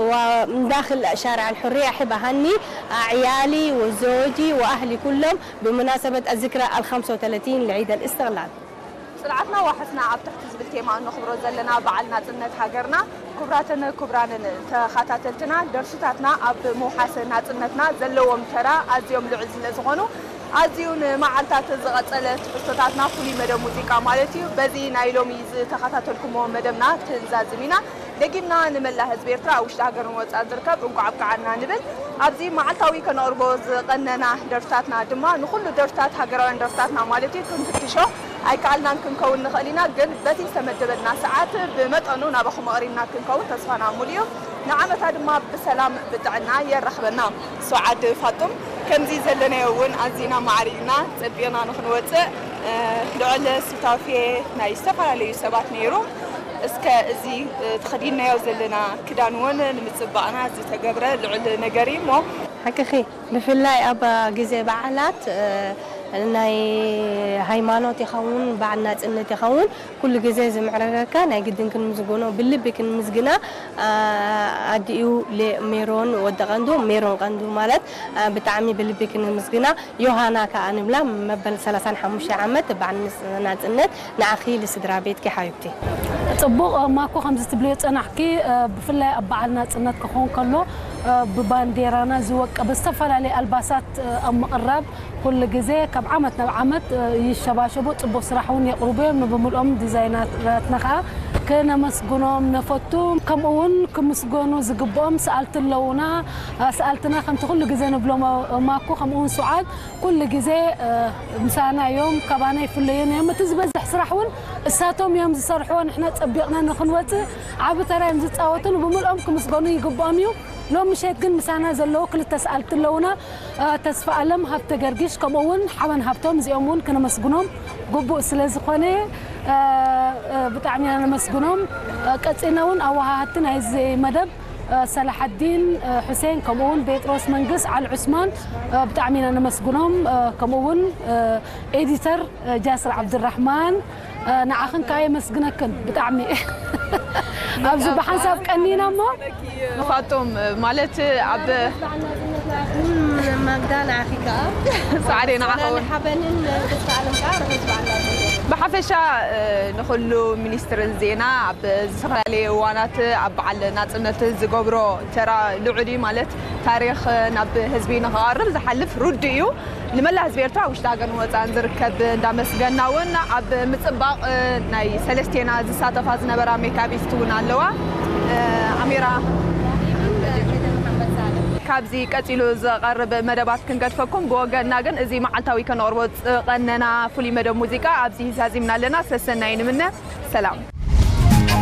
ومن داخل شارع الحرية أحب أهني عيالي وزوجي وأهلي كلهم بمناسبة الذكرى الخمسة وثلاثين لعيد الاستقلال. ጽንዓትና ዋሕስና ኣብ ትሕቲ ዝብል ቴማ እንኽብሮ ዘለና በዓል ናጽነት ሃገርና፣ ክቡራትን ክቡራንን ተኸታተልትና፣ ደርፍታትና ኣብ ምውሓስ ናጽነትና ዘለዎም ተራ ኣዝዮም ልዑል ስለ ዝኾኑ፣ ኣዝዩ ንመዓልታት ዝቐጸለ ትሕዝቶታትና ፍሉይ መደብ ሙዚቃ ማለት እዩ። በዚ ናይ ሎሚ ዝተኸታተልኩሞ መደብና ክንዛዝም ኢና። ደጊምና ንመላእ ህዝቢ ኤርትራ ኣብ ውሽጢ ሃገርን ወጻእን ዝርከብ እንኳዕ ኣብቅዓና ንብል። ኣብዚ መዓልታዊ ከነቕርቦ ዝቐነና ደርፍታትና ድማ ንኹሉ ደርፍታት ሃገራውያን ደርፍታትና ማለት እዩ ክንፍትሾ ኣይከኣልናን ክንከውን ንኽእል ኢና፣ ግን በቲ ዝተመደበልና ሰዓት ብመጠኑ ናባኹም ኣቕሪብና ክንከውን ተስፋና ሙሉ እዩ። ንዓመታ ድማ ብሰላም ብጥዕና የራኽበና። ሱዓድ ፋጡም፣ ከምዚ ዘለናዮ እውን ኣዚና ማዕሪግና ጸቢቕና ንኽንወጽእ ልዑል ሱታፌ ናይ ዝተፈላለዩ ሰባት ነይሩ። እስከ እዚ ተኸዲንናዮ ዘለና ክዳን እውን ንምጽባቕና ዝተገብረ ልዑል ነገር እዩ እሞ። ሓቅኺ፣ ብፍላይ ኣብ ግዜ በዓላት ናይ ሃይማኖት ይኸውን በዓል ናጽነት ይኸውን ኩሉ ግዜ ዝምዕረገካ ናይ ግድን ክንምዝግኖ ብልቢ ክንምዝግና ኣዲኡ ሜሮን ወዲ ቀንዱ ሜሮን ቀንዱ ማለት ብጣዕሚ ብልቢ ክንምዝግና ዮሃና ከኣ ንብላ መበል ሰላሳን ሓሙሽተ ዓመት በዓል ናጽነት ንዓኺ ልስድራ ቤትኪ ሓቢብቲ። ጽቡቕ ማኮ ከምዚ ትብልዮ ጸናሕኪ ብፍላይ ኣብ በዓል ናጽነት ክኾን ከሎ ብባንዴራና ዝወቀበ ዝተፈላለየ ኣልባሳት ኣብ ምቕራብ ኩሉ ግዜ ካብ ዓመት ናብ ዓመት ይሸባሸቡ ጽቡቕ ስራሕ እውን የቕርቡ እዮም ንብምልኦም ዲዛይነራትና ከዓ ክነመስግኖም ነፈቱ ከምኡ እውን ክምስገኑ ዝግብኦም ሰኣልቲ ኣለውና ሰኣልትና ከምቲ ኩሉ ግዜ ንብሎም ማኮ ከምኡ እውን ሱዓድ ኩሉ ግዜ ምሳና እዮም ካባና ይፍለዩን እዮም እቲ ዝበዝሕ ስራሕ እውን እሳቶም እዮም ዝሰርሕዎ ንሕና ፀቢቕና ንክንወፅእ ዓቢ ተራ እዮም ዝፃወቱ ንብምልኦም ክምስገኑ ይግብኦም እዩ ሎም ምሸት ግን ምሳና ዘለዉ ክልተ ሰኣልቲ ኣለውና ተስፋ ኣለም ሃብተ ገርጊሽ ከምኡ እውን ሓበን ሃብቶም እዚኦም እውን ክነመስግኖም ግቡእ ስለ ዝኾነ ብጣዕሚ ኢና ነመስግኖም ቀፂልና እውን ኣወሃሃድቲ ናይዚ መደብ ሰላሓዲን ሑሴን ከምኡ እውን ቤጥሮስ መንግስ ዓል ዑስማን ብጣዕሚ ኢና ነመስግኖም ከምኡ እውን ኤዲተር ጃስር ዓብድራሕማን ንዓኽን ከዓ የመስግነክን ብጣዕሚ ኣብዚ ብሓንሳብ ቀኒና እሞ ንፋጦም ማለት ኣብ ማግዳ ንዓኺ ከዓ ሳዕዴ ንዓኸውን ሓበንን ተስፋ ኣለም ከዓ ርሑስ በዓል ናጽነት ብሓፈሻ ንኹሉ ሚኒስትሪ ዜና ኣብ ዝተፈላለየ እዋናት ኣብ በዓል ናጽነት ዝገብሮ ተራ ልዑል እዩ ማለት ታሪኽ ናብ ህዝቢ ንኽቐርብ ዝሓልፍ ርዱእ እዩ ንመላእ ህዝቢ ኤርትራ ውሽጢ ሃገርን ወፃእን ዝርከብ እንዳመስገና እውን ኣብ ምፅባቕ ናይ ሰለስቴና ዝሳተፋ ዝነበራ ሜካቢስት እውን ኣለዋ ኣሚራ ካብዚ ቀፂሉ ዝቐርብ መደባት ክንገድፈኩም ብወገንና ግን እዚ መዓልታዊ ከነቕርቦ ዝቐነና ፍሉይ መደብ ሙዚቃ ኣብዚ ዛዚምና ኣለና ሰሰናይ ንምነ ሰላም